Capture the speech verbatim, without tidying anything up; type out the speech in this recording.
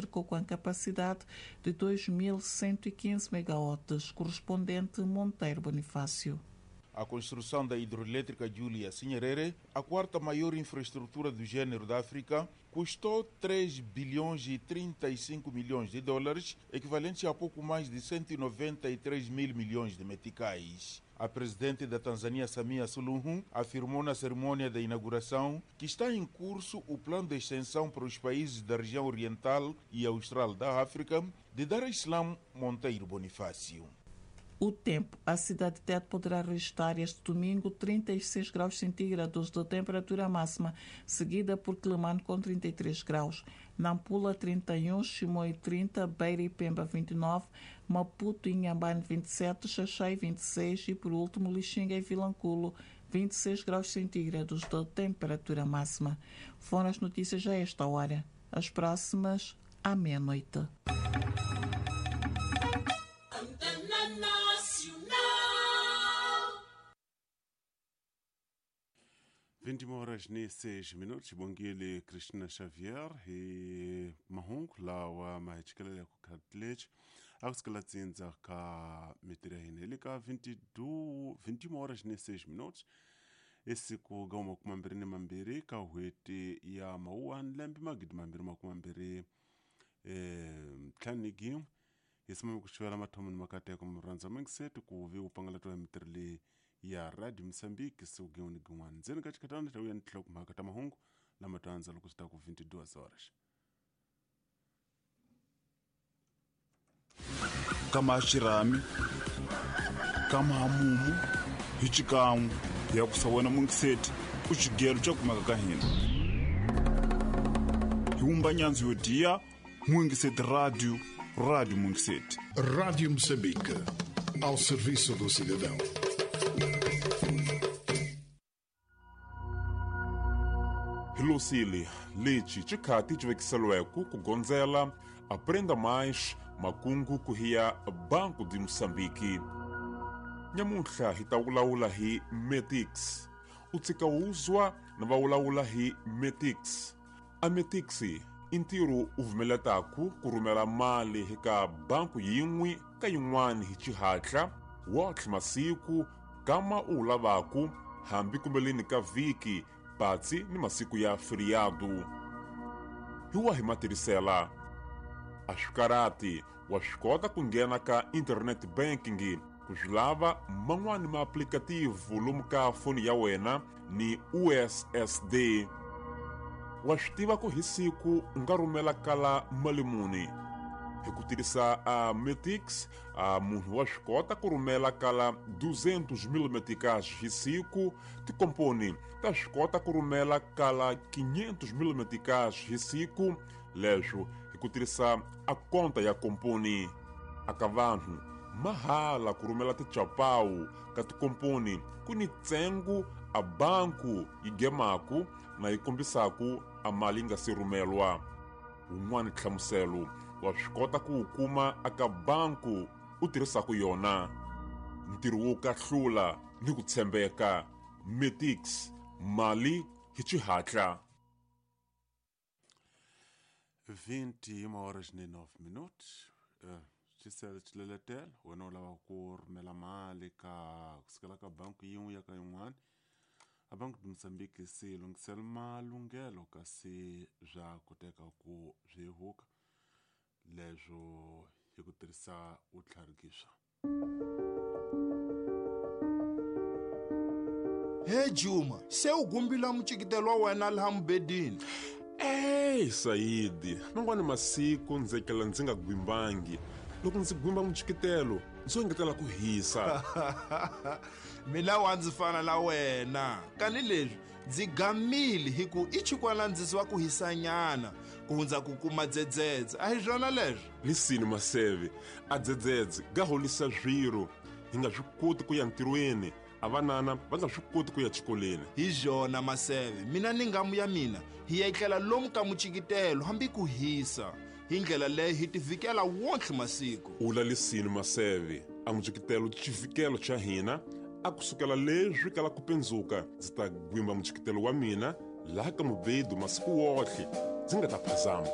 com a capacidade de dois mil cento e quinze megawatts, correspondente Monteiro Bonifácio. A construção da hidroelétrica Julius Nyerere, a quarta maior infraestrutura do gênero da África, custou três bilhões e trinta e cinco milhões de dólares, equivalente a pouco mais de cento e noventa e três mil milhões de meticais. A presidente da Tanzânia, Samia Suluhu, afirmou na cerimônia da inauguração que está em curso o plano de extensão para os países da região oriental e austral da África de Dar es Salaam, Monteiro Bonifácio. O tempo. A cidade de Tete poderá registrar este domingo trinta e seis graus centígrados de temperatura máxima, seguida por Quelimane com trinta e três graus, Nampula trinta e um, Chimoio trinta, Beira e Pemba vinte e nove, Maputo e Inhambane vinte e sete, Xaxai vinte e seis e, por último, Lixinga e Vilanculo vinte e seis graus centígrados de temperatura máxima. Foram as notícias a esta hora. As próximas à meia-noite. vinte e uma horas e seis minutos. Bongile Cristina Xavier e mahungu lawa mahichikelele ku khatlech akusikela tsindza ka mitiri ya hina hi le ka vinte e uma horas e seis minutos esiku ga makumi mambirhi ni mambirhi ka n'hweti ya Mawuwani lembe magidi mambirhi makumi mambirhi ntlhanu ni gin'we hi simame ku xivela mathomo ni makateko murhandza mingiseti ku vi u pangalatiwa hi mitirhi leyi ya Radio Moçambique siku gin'we ni gin'wana ndzeni ka xikhatana xa vuya ni tinhlokomhaka ta mahungu lama to andza loko swi ta ku vinte e duas horas. Kama xirhami, kama hamumu, hi xikan'we ya ku sa wena mungiseti u xigelo xa kumeka ka hina. Hi wumba nyandzu yo diya Mungiseti Radio, Radio Mungiseti. Rádio Moçambique, ao serviço do cidadão. Hilosile lexi xikhati xi vekiseliweke ku gondzela Aprenda Mais makungu ku hiya Banco de Moçambique. Nyamuntlha hi ta vulavula hi Metix. U tshika wuzwa na va vulavula hi Metix. A Metix i ntirho u vumeletaku ku rhumela mali eka banku yin'we ka yin'wana hi xihatla wotlhe masiku kama u lavaku hambi kumbeleni ka vhiki patsi ni masiku ya feriado. Hi wahi matirhisela? A swikarati wa swi kota ku nghena ka internet banking ku swi lava man'wani maaplikativu lomu ka foni ya wena ni U S S D. Wa swi tiva ku hi siku u nga rhumela kala mali muni. Hi ku tirhisa a Metix, a munhu wa swi kota ku rhumela kala duzentos mil meticais hi siku, tikomponi ta swi kota ku rhumela kala quinhentos mil meticais hi siku, leswo hi ku tirhisa a konta ya komponi. Aka vanhu mahala ku rhumela tichapawu ka tikomponi ku ni ntsengo a banku yi gemaku na yi kombisaku a mali yi nga se rhumelwa. Wun'wani nhlamuselo wa swi kota ku wu kuma aka banku u tirhisaku yona. Ntirho wo kahlula ni ku tshembeka. Metix, mali hi xihatla. vinte e uma horas e nove minutos. Xisele xileletelo wena u lava ku rhumela mali ka kusukela ka banku yin'we ya ka yin'wana. A Banco de Moçambique se lunghisela malunghelo kasi swa koteka ku swi huka leswo hi ku tirhisa vutlharikiswa. He Juma, se u gumbila mucikitelo wa wena laha mubedini. Ey Saidi, man'wani masiku ndzi kela ndzi nga gwimbangi. Loko ndzi gwimba mucikitelo ndzo engetela ku hisa. Mina wa ndzi fana na wena. Kani leswi ndzi gamile hi ku i chikwana ndziso wa ku hisanyana ku hundza ku kuma dzedzedze. A hi swona leswi? Lisini Maseve, a dzedzedze ga holisa swiro. Hi nga swi koti ku ya ntirhweni, a vanana va nga swi koti ku ya xikolweni. Hi swona Maseve, mina ni ngamu ya mina hi ya etlela lomu ka mucikitelo hambi ku hisa. Hi ndlela leyi hi tivikela wonke masiku. Ula lisini Maseve, a mucikitelo xivikelo xa hina a kusukela leswi kala ku pendzuka ndzi ta gwimba mucikitelo wa mina laha ka mubedu masiku wotlhe ndzi nga ta phazama.